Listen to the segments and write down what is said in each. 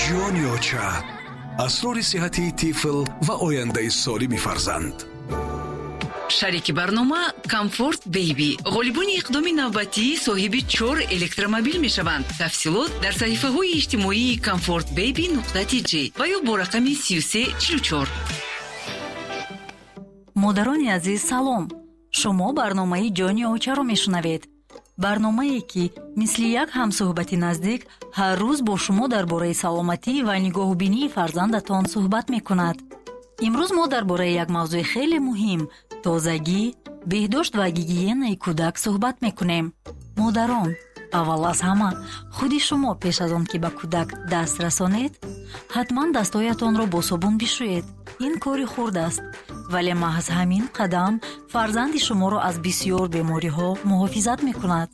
Ҷони оча, асрори сиҳатии тифл ва ояндаи солими фарзанд. Шарики барнома «Комфорт Бейби». Ғолибони иқдоми навбатӣ соҳиби чор электромобил мешаванд. Тафсилот дар саҳифаҳои иҷтимоии комфортбейби.тj ва ё бо рақами 3344. Модарони азиз, салом! Шумо барномаи «Ҷони очаро» мешунавед, барномае, ки мисли як ҳамсӯҳбати наздик ҳар рӯз бо шумо дар бораи саломатӣ ва нигоҳубинии фарзандатон суҳбат мекунад. Имрӯз мо дар бораи як мавзӯи хеле муҳим: тозагӣ, беҳдошт ва гигиенаи кӯдак суҳбат мекунем. Модарон, аввал аз ҳама худи шумо пеш аз он ки ба кӯдак даст расонед, ҳатман дастҳоятонро бо собун бишӯед. Ин кори хурд аст, вале маҳз ҳамин қадам фарзанди шуморо аз бисьёр бемориҳо муҳофизат мекунад.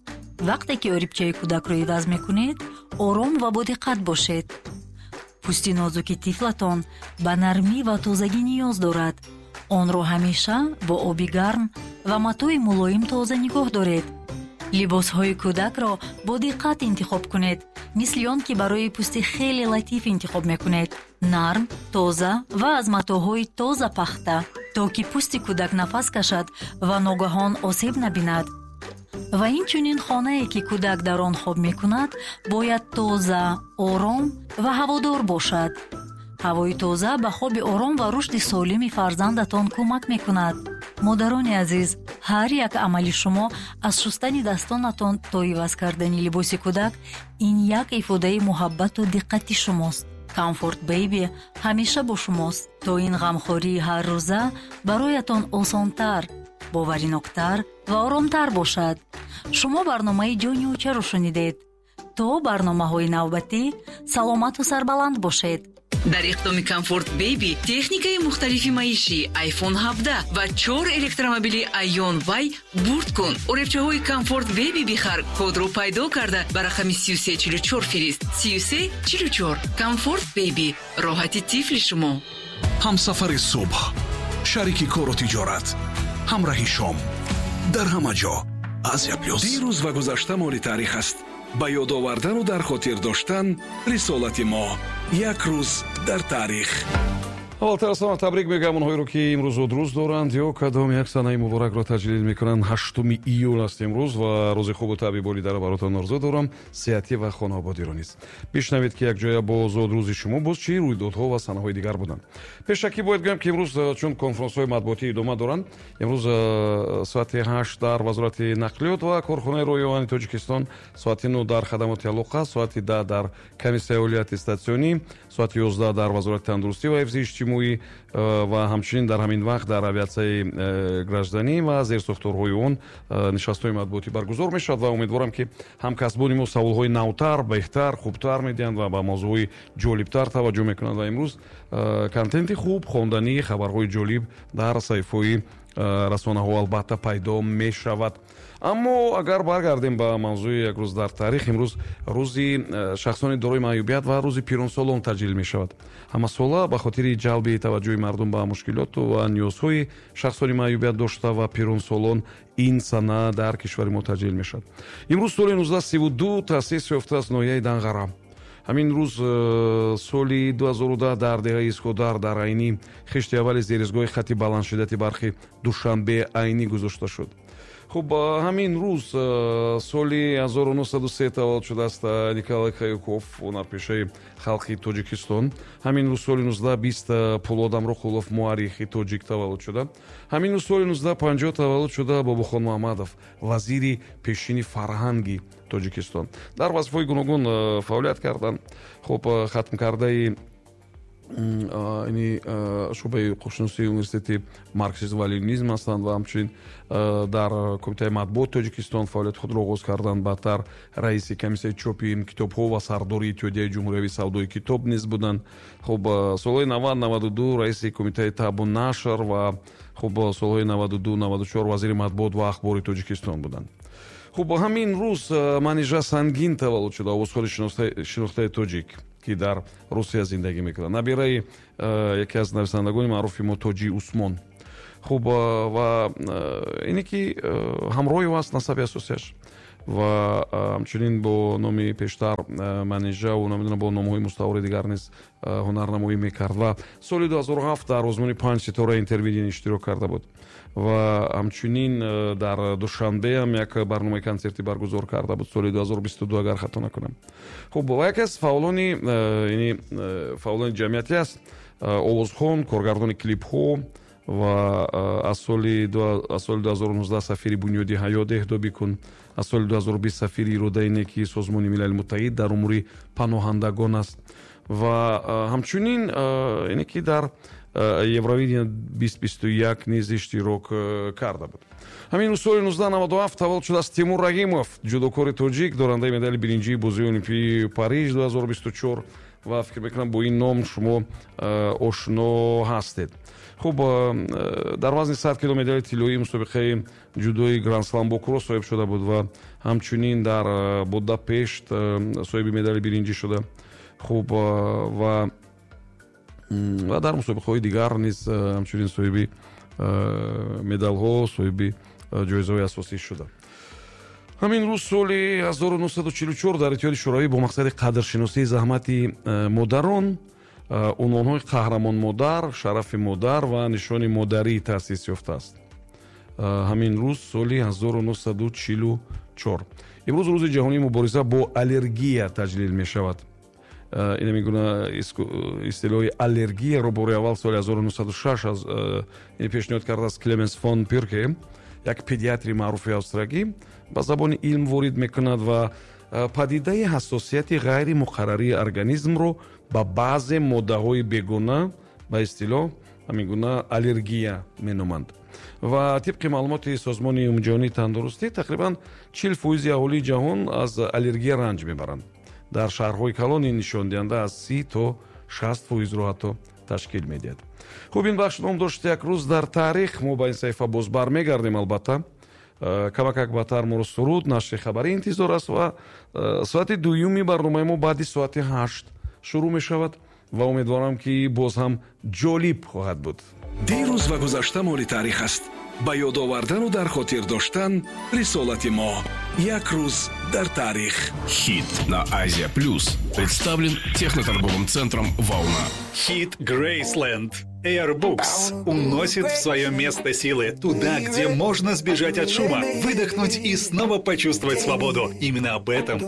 Вақте ки орибчаи кӯдакро иваз мекунед, ором ва бодиққат бошед. Пӯсти нозуки тифлатон ба нармӣ ва тозагӣ ниёз дорад. Онро ҳамеша бо оби гарм ва матои мулоим тоза нигоҳ доред. Либосҳои кӯдакро бо диққат интихоб кунед, мисли он ки барои пӯсти хеле латиф интихоб мекунед: нарм, тоза ва аз матоъҳои тоза пахта, то ки пӯсти кӯдак нафас кашад ва ногаҳон осеб набинад. Ва инчунин хонае, ки кӯдак дар он хоб мекунад, бояд тоза, ором ва ҳаводор бошад. Ҳавои тоза ба хоби ором ва рушди солими фарзандатон кӯмак мекунад. Модарони азиз, ҳар як амали шумо, аз шустани дастонатон то иваз кардани либоси кӯдак, ин як ифодаи муҳаббату диққати шумост. «Комфорт Бейби» ҳамеша бо шумост, то ин ғамхории ҳаррӯза бароятон осонтар, бовариноктар ва оромтар бошад. Шумо барномаи «Ҷони очаро» шунидед. То барномаҳои навбатӣ саломату сарбаланд бошед. Дар иқдоми «Комфорт Бейби» техникаи мухталифи маишӣ, iPhone 17 ва чор электромобили Айон Вай бурд кун. Оребчаҳои «Комфорт Бейби» бихар, кодро пайдо карда, ба рақами 3344 фирист. 3344. «Комфорт Бейби» — роҳати тифли шумо. Ҳамсафари субҳ, шарики кору тиҷорат, ҳамраҳи шом, дар ҳама ҷо «Азия Плюс». Дирӯз ва гузашта моли таърих аст. Ба ёд овардану дар хотир доштан рисолати мо. Як рӯз дар таърих. Аввалтар аз ҳама табрик мегӯям онҳоеро, ки имрӯз зодрӯз доранд ё кадом як санаи муборакро таҷлил мекунанд. 8 июл аст имрӯз ва рӯзи хубу табъи болидаро баротон орзу дорам, сеҳатӣ ва хонаободиро низ. Бишнавед, ки якҷоя бо зодрӯзи шумо боз чӣ рӯйдодҳо ва санаҳои дигар буданд. Пешакӣ бояд гӯям, ки имрӯз, чун конфронсҳои матбуотӣ идома доранд, имрӯз соати 8 дар Вазорати нақлиёт ва корхонаи роҳи оҳани Тоҷикистон, соати 9 дар хадамоти алоқа, соати 10 дар Комиссияи олии аттестатсионӣ, соати 11 дар Вазорати тандурустӣ ва ҳифзи иҷтимоӣ ва ҳамчунин дар ҳамин вақт дар авиатсияи гражданӣ ва зерсохторҳои он нишастҳои матбуотӣ баргузор мешавад. Ва умедворам, ки ҳамкасбони мо саволҳои навтар, беҳтар, хубтар медиҳанд ва ба мавзӯъҳои ҷолибтар таваҷҷӯҳ мекунанд. Ва имрӯз контенти хуб, хонданӣ, хабарҳои ҷолиб дар саҳифаҳои расонаҳо албатта пайдо мешавад. Аммо агар баргардем ба мавзӯи як рӯз дар таърих, имрӯз рӯзи шахсони дорои маъюбият ва рӯзи пиронсолон таҷлил мешавад. Ҳамасола ба хотири ҷалби таваҷҷӯҳи мардум ба мушкилоту ва ниёзҳои шахсони маъюбият дошта ва пиронсолон ин сана дар кишвари мо таҷлил мешавад. Имрӯз соли 1932 таъсис ёфтааст ноҳияи Данғара. Ҳамин рӯз соли 2010 дар деҳаи Искодар дар Айнӣ хишти аввали зеризгоҳи хати баландшиддати барқи Душанбе Айнӣ гузошта шуд. Хуб, ҳамин рӯз соли 1903 таваллуд шудааст Николай Каюков, ҳунарпешаи халқи Тоҷикистон. Ҳамин рӯз соли 1920 Пулод Амроқулов, муаррихи тоҷик, таваллуд шуда. Ҳамин рӯз соли 1950 таваллуд шуда Бобохон Муҳаммадов, вазири пешини фарҳанги Тоҷикистон, дар вазифаҳои гуногун фаъолият карданд. Хуб, хатмкардаи ини шӯъбаи ҳуқуқшиносии Университети марксизм ва ленинизм ҳастанд ва ҳамчунин дар Кумитаи матбуоти Тоҷикистон фаъолияти худро оғоз карданд. Баъдтар раиси комиссияи чопи китобҳо ва сардори Иттиҳодияи ҷумҳуриявии савдои китоб низ буданд. Хуб, солҳои 90, 92 раиси Кумитаи табъу нашр ва хуб, солҳои 92, 94 вазири матбуот ва ахбори Тоҷикистон буданд. Хуб, ҳамин рӯз Манижа Сангин таваллуд шуда, овозхони шинохтаи тоҷик, ки дар Русия зиндагӣ мекунад, набираи яке аз нависандагони маъруфи мо Тоҷи Усмон. Хуб, ва ине ки ҳамроҳи ӯ аст насаби асосияш. Ва ҳамчунин бо номи пештар Манижаву, намедонам, бо номҳои мустаори дигар низ ҳунарнамоӣ мекард. Ва соли 2007 дар озмуни «Панҷ ситора» Интервидение иштирок карда буд ва ҳамчунин дар Душанбе ҳам як барномаи консертӣ баргузор карда буд соли 2022, агар хато накунам. Хуб, ва яке аз фаъолони, яъне фаъолони ҷамъиятӣ аст, овозхон, коргардони клипҳо ва аз соли 2019 сафири бунёди «Ҳаёт эҳдо бикун», аз соли 2020 сафири иродаи неки Созмони Милали Муттаҳид дар умури паноҳандагон аст. Ва ҳамчунин яъне ки дар Евровидение 2021 низ иштирок карда буд. Ҳамин соли 1997 таваллуд шудааст Тимур Раҳимов, ҷудокори тоҷик, дорандаи медали биринҷии бозиҳои Олимпии Париж 2024, ва фикр мекунам, бо ин ном шумо ошно ҳастед. Хуб, дар вазни 100 кило медали тиллоии мусобиқаи ҷудои Грандслам Бокуро соҳиб шуда буд ва ҳамчунин дар Будапешт соҳиби медали биринҷӣ шуда. Хуб, ва дар мусобиқаҳои дигар низ ҳамчунин соҳиби медалҳо, соҳиби ҷоизаҳои асосӣ шуда. Ҳамин рӯз соли 1944 дар Иттиҳоди Шӯравӣ бо мақсади қадршиносии заҳмати модарон унвонҳои «Қаҳрамон модар», «Шарафи модар» ва «Нишони модарӣ» таъсис ёфтааст. Ҳамин рӯз соли 1944. Имрӯз Рӯзи ҷаҳонии мубориза бо аллергия таҷлил мешавад. Ин мегуна истилоҳи аллергияро бори аввал соли 1906 пешниҳод кардааст Клеменс фон Пирке, як педиатри маъруфи австрагӣ, ба забони илм ворид мекунад ва падидаи ҳассосияти ғайримуқаррарии организмро ба баъзе моддаҳои бегона ба истилоҳ ҳамин гуна аллергия меноманд. Ва тибқи маълумоти Созмони Умумиҷаҳонии тандурустӣ, тақрибан 40 фоизи аҳолии ҷаҳон аз аллергия ранҷ мебаранд. Дар шаҳрҳои калон ин нишондиҳанда аз 30 то 60 фоизро ҳатто ташкил медиҳад. Хуб, ин бахш ном дошт «Як рӯз дар таърих». Мо ба ин саҳифа боз бармегардем, албатта. Камакак баъдтар моро суруд, нашри хабарӣ интизор аст ва соати дуюми барномаи мо баъди соати 8 шурӯъ мешавад ва умедворам, ки боз ҳам ҷолиб хоҳад буд. Дирӯз ва гузашта моли таърих аст. Ба ёд овардану дар хотир доштан рисолати мо. «Як рӯз дар таърих». Хит на Азия Плюс представлен техноторговым центром «Волна». Хит Грейсленд. Airbooks уносит в свое место силы, туда, где можно сбежать от шума, выдохнуть и снова почувствовать свободу. Именно об этом